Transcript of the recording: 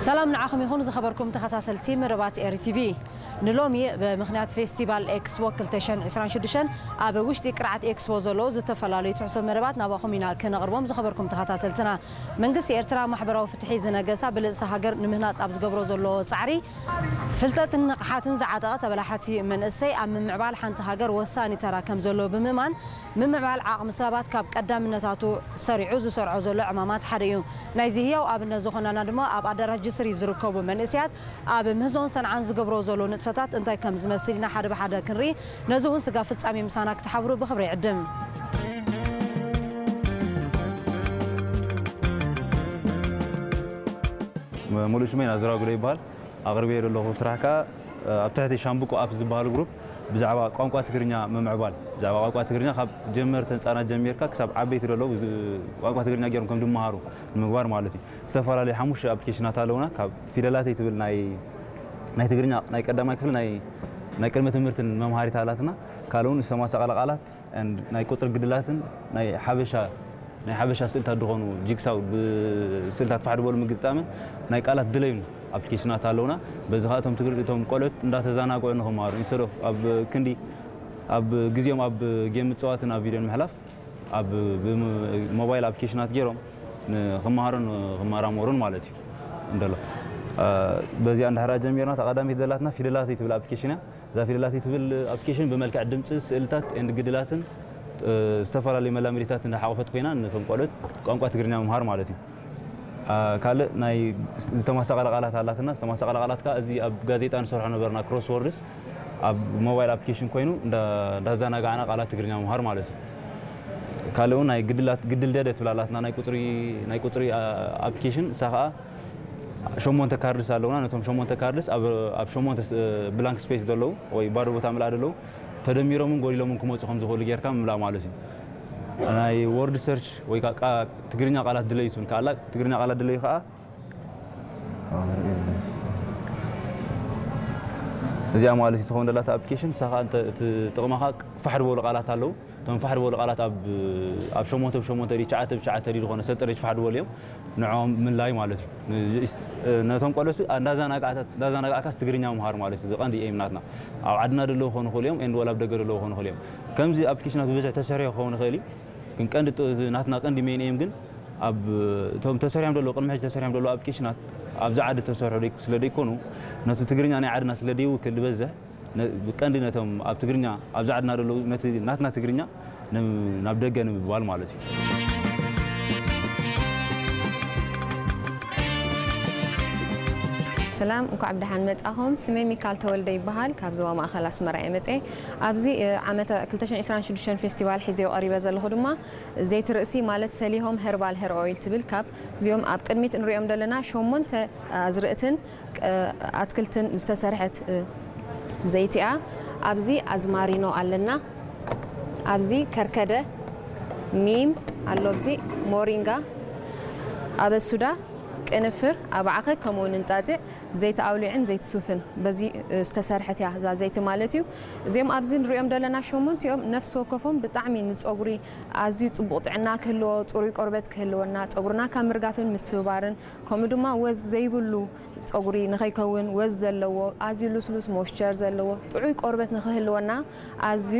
ሰላም ንዓኹም ይኹን ዝኸበርኩም ተኸታተልቲ መደባት ኤሪ ቲቪ። ንሎሚ ብምኽንያት ፌስቲቫል ኤክስፖ ክልተ ሽሕን ዕስራን ሽዱሽተን ኣብ ውሽጢ ቅርዓት ኤክስፖ ዘለዉ ዝተፈላለዩ ትሕሶ መደባት ናባኹም ኢና ክነቕርቦም። ዝኸበርኩም ተኸታተልትና፣ መንግስቲ ኤርትራ ማሕበራዊ ፍትሒ ዝነገሳ ብልጽቲ ሃገር ንምህናጽ ኣብ ዝገብሮ ዘሎ ጻዕሪ ፍልጠትን ንቕሓትን ዝዓጠቐ ተበላሓቲ መንእሰይ ኣብ ምምዕባል ሓንቲ ሃገር ወሳኒ ተራ ከም ዘለዎ ብምእማን፣ ምምዕባል ዓቕሚ ሰባት ካብ ቀዳምነታቱ ሰሪዑ ዝሰርዖ ዘሎ ዕማማት ሓደ እዩ። ናይዚ ህያው ኣብነት ዝኾነና ድማ ኣብ ኣዳራሽ ጅስሪ ዝርከቡ መንእሰያት ኣብ ምህዞን ሰንዓን ዝገብሮ ዘሎ ንጥፈታት እንታይ ከም ዝመስል ኢና ሓደ ብሓደ ክንርኢ። ነዚ እውን ስጋ ፍጻሜ ምሳና ክትሓብሩ ብኽብሪ ይዕድም። ሙሉእ ሽመይ ናዝራ ጉደይ ይበሃል። ኣቕርበዮ ዘለኹ ስራሕ ከኣ ኣብ ትሕቲ ሻምብቆ ኣፕ ዝበሃል ግሩፕ ብዛዕባ ቋንቋ ትግርኛ ምምዕባል፣ ብዛዕባ ቋንቋ ትግርኛ ካብ ጀመርተ ህጻናት ጀሚርካ ክሳብ ዓበይቲ ዘለዉ ዝ-፣ ቋንቋ ትግርኛ ገይሮም ከም ዝመሃሩ ንምግባር ማለት እዩ። ዝተፈላለዩ ሓሙሽተ ኣፕሊኬሽናት ኣለውና። ካብ ፊደላተይ ትብል ናይ፣ ናይ ትግርኛ ናይ ቀዳማይ ክፍሊ ናይ፣ ናይ ቅድመ ትምህርትን መምሃሪት ኣላትና። ካልእ እውን ዝተማሳቐለ ቃላት and ናይ ቁጽሪ ግድላትን ናይ ሓበሻ፣ ናይ ሓበሻ ስእልታት ዝኾኑ ጂግሳው ብስእልታት ፋሕ ዝበሉ ምግጣምን ናይ ቃላት ድለዩን ኣፕሊኬሽናት ኣለውና። በዚ ኸኣ እቶም ትግር-፣ እቶም ቆልዑት እንዳተዘናግዑ ንኽመሃሩ፣ instead of ኣብ ክንዲ፣ ኣብ ግዜኦም ኣብ ጌም ምጽዋትን ኣብ ቪድዮን ምሕላፍ፣ ኣብ ብሞባይል ኣፕሊኬሽናት ገይሮም ንኽመሃሩን ክመራመሩን ማለት እዩ እንደሎ። እ፣ በዚኣ እንድሕራ ጀሚርና፣ እታ ቀዳመይቲ ዘላትና ፊደላተይ ትብል ኣፕሊኬሽን እያ። እዛ ፊደላተይ ትብል ኣፕሊኬሽን ብመልክዕ ድምጺ፣ ስእልታት and ግድላትን፣ እ፣ ዝተፈላለዩ መላምዲታት እንዳሓቆፈት ኮይና፣ ነቶም ቆልዑት ቋንቋ ትግርኛ ምምሃር ማለት እዩ። እ፣ ካልእ ናይ ዝተማሳቐለ ቃላት ኣላትና። ዝተማሳቐለ ቃላት ከኣ እዚ ኣብ ጋዜጣ ንሰርሖ ነበርና፣ ክሮስ ወርድስ፣ ኣብ ሞባይል ኣፕሊኬሽን ኮይኑ እንዳ-፣ እንዳዘናጋዕና ቃላት ትግርኛ ምምሃር ማለት እዩ። ካልእ እውን ናይ ግድላት፣ ግድል ደደ ትብል ኣላትና፣ ናይ ቁጽሪ፣ ናይ ቁጽሪ፣ እ፣ ኣፕሊኬሽን፣ እሳ ከኣ ሸሞንተ ካርድስ ኣለውና። ነቶም ሸሞንተ ካርድስ ኣብ፣ ኣብ ሸሞንተ ስ-፣ ብላንክ ስፔስ ዘለዉ ወይ ባዶ ቦታ ምልኣ ዘለዉ ተደሚሮምን ጎዲሎምን ክመጹ ከም ዝኽእሉ ጌርካ ምምላእ ማለት እዩ። ናይ ወርድ ሰርች ወይ ከዓ ቃ-፣ ትግርኛ ቃላት ድለዩ ትብል ከኣላ፣ ትግርኛ ቃላት ድለዩ ከዓ እዚኣ ማለት እዩ ትኸውን ዘላታ ኣፕሊኬሽን። ንሳ ከዓ እንተ-፣ እቲ ጥቕማ ከዓ ፋሕ ዝበሉ ቃላት ኣለዉ። እቶም ፋሕ ዝበሉ ቃላት ኣብ፣ ኣብ ሸሞንተ ብሸሞንተ ድዩ፣ ትሽዓተ ብትሽዓተ ድዩ ዝኾነ ሰጠረጅ ፋሕ ዝበሉ እዮም። ንዕኦም ምላይ ማለት እዩ። ን-፣ ነቶም ቆልዑ እንዳዘናጋዕካ፣ እንዳዘናጋዕካስ ትግርኛ ምሃር ማለት እዩ። እዚ ቀንዲ ኤም ናትና። ኣብ ዓድና ዘለዉ ክኾኑ ይኽእሉ እዮም፣ ኤንድ ወላ ኣብ ደገ ዘለዉ ክኾኑ ይኽእሉ እዮም። ከምዚ ኣፕሊኬሽናት ብብዝሒ ተሰሪሑ ክኸውን ይኽእል እዩ። ግን ቀንዲ ጥ-፣ ናትና ቀንዲ ሜን ኤም ግን ኣብ እቶም ተሰሪሖም ዘለዉ፣ ቅድሚ ሕጂ ተሰሪሖም ዘለዉ ኣፕሊኬሽናት ኣብዚ ዓዲ ተሰርሑ ደይ-፣ ስለ ደይኮኑ፣ ነቲ ትግርኛ ናይ ዓድና ስለ ደይውክል ዝበዝሕ፣ ነ-፣ ብቀንዲ ነቶም ኣብ ትግርኛ፣ ኣብዚ ዓድና ዘለዉ ነቲ ናትና ትግርኛ ን-፣ ናብ ደገ ንምባል ማለት እዩ። ሰላም፣ እንኳዕ ብደሓን መጻኹም። ስመይ ሚካል ተወልደ ይበሃል። ካብ ዞባ ማእከል ኣስመራ እየ መጽኤ። ኣብዚ፣ እ፣ ዓመተ ክልተ ሽሕን ዕስራን ሽዱሽተን ፌስቲቫል ሒዘዮ ቀሪበ ዘለኹ ድማ ዘይቲ ርእሲ ማለት ሰሊሆም ሄርባል ሄር ኦይል ትብል ካብ እዚኦም ኣብ ቅድሚት እንሪኦም ዘለና ሸሞንተ ኣዝርእትን፣ እ፣ ኣትክልትን ዝተሰርሐት፣ እ፣ ዘይቲ እያ። ኣብዚ ኣዝማሪኖ ኣለና። ኣብዚ ከርከደ፣ ኒም ኣሎ፣ ኣብዚ ሞሪንጋ፣ ኣበሱዳ፣ ቅንፍር፣ ኣባዕኸ ከምኡ እውን እንጣጢዕ፣ ዘይቲ ኣውሊዕን ዘይቲ ሱፍን በዚ፣ እ፣ ዝተሰርሐት እያ እዛ ዘይቲ ማለት እዩ። እዚኦም ኣብዚ ንሪኦም ዘለና ሸሞንቲኦም ነፍሲ ወከፎም ብጣዕሚ ንፀጉሪ ኣዝዩ ፅቡቕ ጥዕና ክህልዎ፣ ፅሩይ ቆርበት ክህልወና፣ ፀጉርና ካብ ምርጋፍን ምስብባርን፣ ከምኡ ድማ ወዝ ዘይብሉ ፀጉሪ ንኸይከውን፣ ወዝ ዘለዎ፣ ኣዝዩ ልስሉስ ሞይስቸር ዘለዎ፣ ጥዑይ ቆርበት ንኽህልወና ኣዝዩ